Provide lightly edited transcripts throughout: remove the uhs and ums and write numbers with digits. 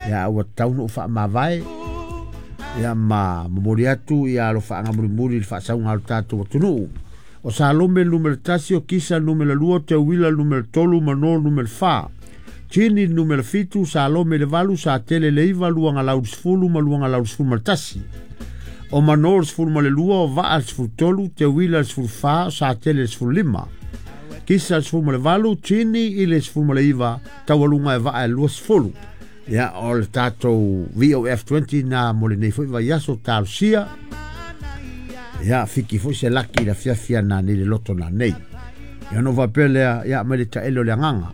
Ia ua tatau ona ou faamavae ia ma momoli atu ia alofaaga mulimuli i le faasauga a lo tatou atunuu. O Salome 1, o Kisa 2, o Teuila 3, Mano 4, Tini 7, Salome le 8, Satele le 9, Luagalau 10 ma Luagalau 11. O Mano 12, o Vaa 13, Teuila 14, Satele 15. Kisa 18, Tini i le 19, taualuga e Vaa e 20. Ia, o le tatou VOF20 na mo lenei foi vaiaso talosia. Ia, fiki foi se laki i le afiafi a nanei le loto nanei. Ia ona ou faapea lea, ia mai le taele o le agaga.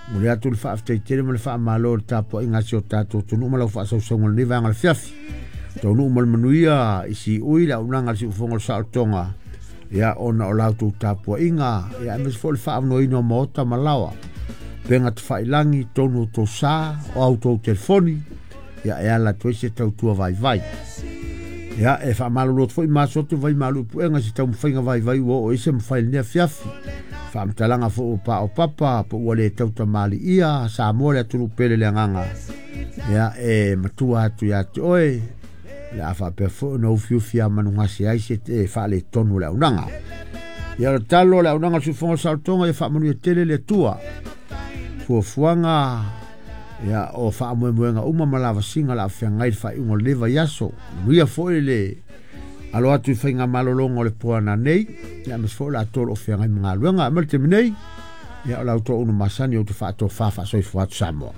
Momoli atu le faafetai tele ma le faamalo i le tapuaiga a si o tatou atunuu ma lau faasausauga o lenei vaega o le afiafi. Taunuu ma le manuia i Siui le auaunaga a le Siufofoga o le Saolotoga, ia ona o la outou tapuaiga, ia aemaise foi o le faaavanoaina o maota ma laoa, upega tafailagi, totonu o tou sa, o a outou telefoni, ia e ala atu ai se tautua vaivai. Ia, e faamalulu atu foi ma aso atu vai malu i puega i se taumafaiga vaivai ua oo i se mafai i lenei afiafi. Faamatalaga foi ua paopapa po ua le tautamaliia Samoa le atunuu pele le agaga. Ia, e matua atu ia te oe, o le a faapea foi ona ufiufi a manugase ai se faaletonu o le auaunaga. Ia, o le talo o le auaunaga o le Siufofoga o le Saolotoga, ia faamanuia tele le Atua. Fuafuaga ia o faamoemoega uma ma lavasiga o le a feagai i le faaiuga o lenei vaiaso. Manuia foi le alo atu i faigamalologa o le po a nanei, ia aemaise foi o le atoa o lo o feagai ma galuega. Ma le taimi nei, ia o la outou auna masani ou te faatofa faasoifua atu Samoa.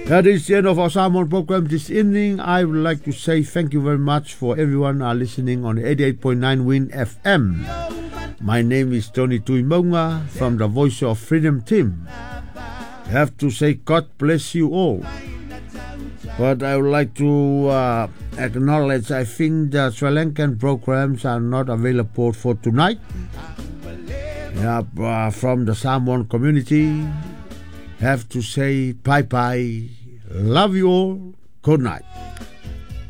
That is the end of our Samoan program this evening. I would like to say thank you very much for everyone are listening on 88.9 Win FM. My name is Tony Tuimoga from the Voice of Freedom team. I have to say God bless you all. But I would like to acknowledge I think the Sri Lankan programs are not available for tonight. Yeah, from the Samoan community, have to say bye-bye. Love you all. Good night.